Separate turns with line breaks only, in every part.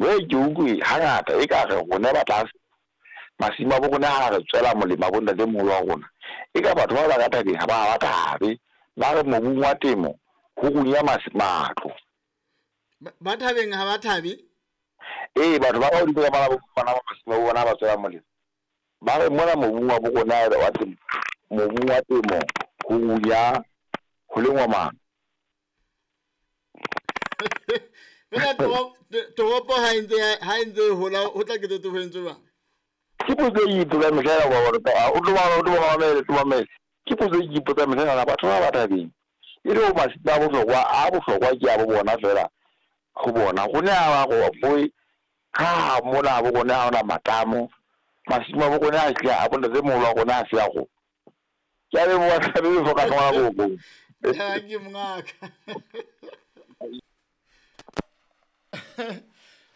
Jwale ke utlwe hangata e ka re rona ba tlase masimo a bo rona ha re tswela molemo a bo ntatemoholo wa rona. E ka batho ba ba ka thabeng ha ba thabe. Ba re mobung wa temo ho runya matlo.
Ba thabeng ha ba thabe?
Ee, batho ba ka hodimo ka bana ba masimo a bona ba tswela molemo. Ba re mona mobung wa bo rona wa temo, mobung wa temo ho runya ho lengwa matlo.
Fela toropo ha ntse e hola ho tla ketetse ho entswe jwang?
Ke potso e ipotsang mehla ena o tlo mamele. Ke potso e ipotsang mehla ena batho ba ba thabeng. E le ho masimo a bohlokwa a bohlokwa ke a bo bona fela ho bona. Rona ha ba boe ha mona bo rona ha hona matamo. Masimo a bo rona a hle a bo ntatemoholo wa rona a se a rona. Ke a leboha Ntate Lefoka ngwana koko.
Ke mongaka.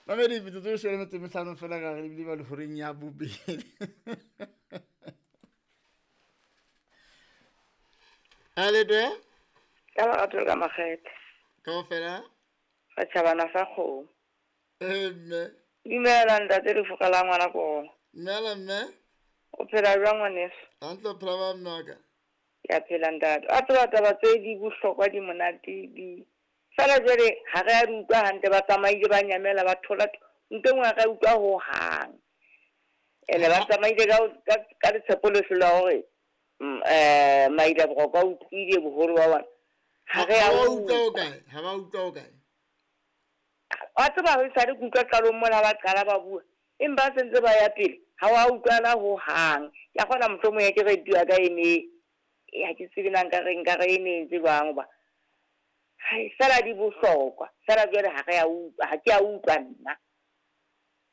Mamedi metsotso e shwele metso e mehlano fela ka re ebile ba lehoreng ya bobedi. A letwe?
Ka lerato le ka makgethe.
Kaofela?
Re tjhabana sa kgomo.
Ee mme.
Dumela ntate Lefoka la ngwana koro.
Dumela mme.
O phela jwang ngwaneso?
Hantle o phela ba mme wa ka?
Ke a phela ntate. A tseba taba tse di bohlokwa di monate di fela jwale ha re a di utlwa hantle ba tsamaile ba nyamela ba thola ntho e nngwe ha re a utlwa ho hang. Ene ba tsamaile ka letshepo lehle la hore Maila Boroko a utlwile boholo ba bona. Ha re a
utlwa o kae? Ha ba utlwa o kae?
Wa tseba ho sale ke utlwa qalong mola ba qala ba bua. Empa se ntse ba ya pele ha wa utlwana ho hang. Ke a kgona mohlomong ya ke radio ya ka e ne ha ke tsebe na nka re e ne entse jwang hoba hai fela di bohlokwa fela jwale ha re a utlwa ha ke a utlwa nna.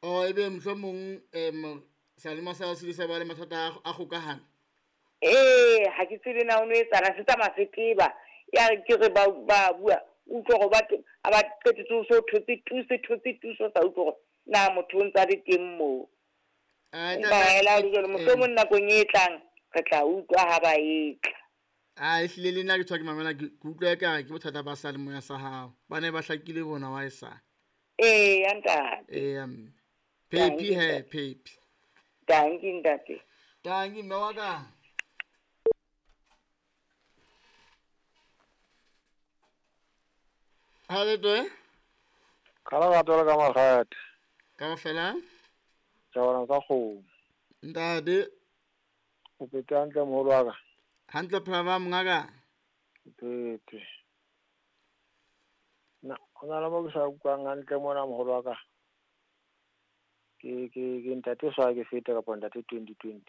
Oh ebe mohlomong Salema sa se sa ba le mathata a kgokahano.
Ee ha ke tsebe na o no etsana se tsamaya se teba ya re ke re ba bua utlwe hore ba ba qetetse o so thotse tu se thotse tu so sa utlwe hore na motho o ntsa le teng moo. Empa hela jwale mohlomong nakong e tlang re tla utlwa ha ba etla.
A ehlile le nna ke tshwa ke mamela ke utlwa ekare ke bothata ba salemoya sa hao. Ba ne ba hlakile bona wa e sa.
Ee ntate.
Ee mme. Phephi he phephi.
Danki ntate.
Danki mme wa ka. Ha le twe?
Ka lerato le ka makgethe.
Kaofela?
Tjhabana sa kgomo.
Ntate.
O phetse hantle moholo wa ka?
Hantle phela ba mongaka.
Phetse. Na ho na le mo ke sa utlwang hantle mona moholo wa ka. Ke ntate sa ke feta kapa ntate 2020.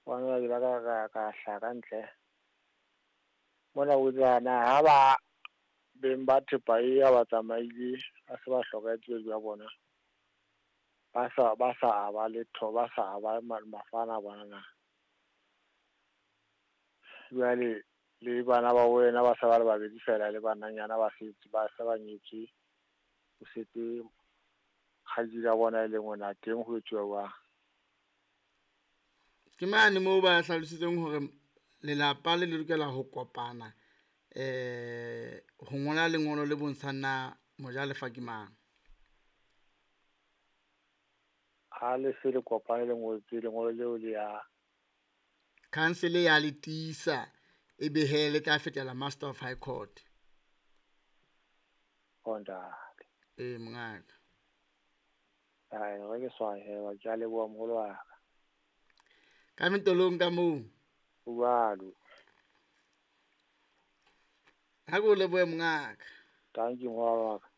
Wa ke la ka hlaka ntle. Mona o tsana ha ba beng ba thepa e ya ba tsamaile a se ba hlokahetse ba bona. Ba sa ba letho ba sa ba mafana bona na. Jwale le bana ba wena ba sa ba le babedi fela le bananyana ba setse ba sa ba nyetswe o setse kgaitsedi ya bona e leng ngwana teng ho etsuwa jwang?
Ke mane moo ba hlalositseng hore lelapa le lokela ho kopana ho ngola lengolo le bontshang na mojalefa ke mang.
Ha le se le kopane le ngotswe lengolo leo le ya
council ya le tiisa e be he le tla fetela Master of High Court.
Ntate.
Ee mongaka.
Ai re ke swahe wa ke a leboha moholo wa ka.
Ka metolong ka moo.
Jwalo.
Ha ke o lebohe mongaka.
Thank you moholo wa ka.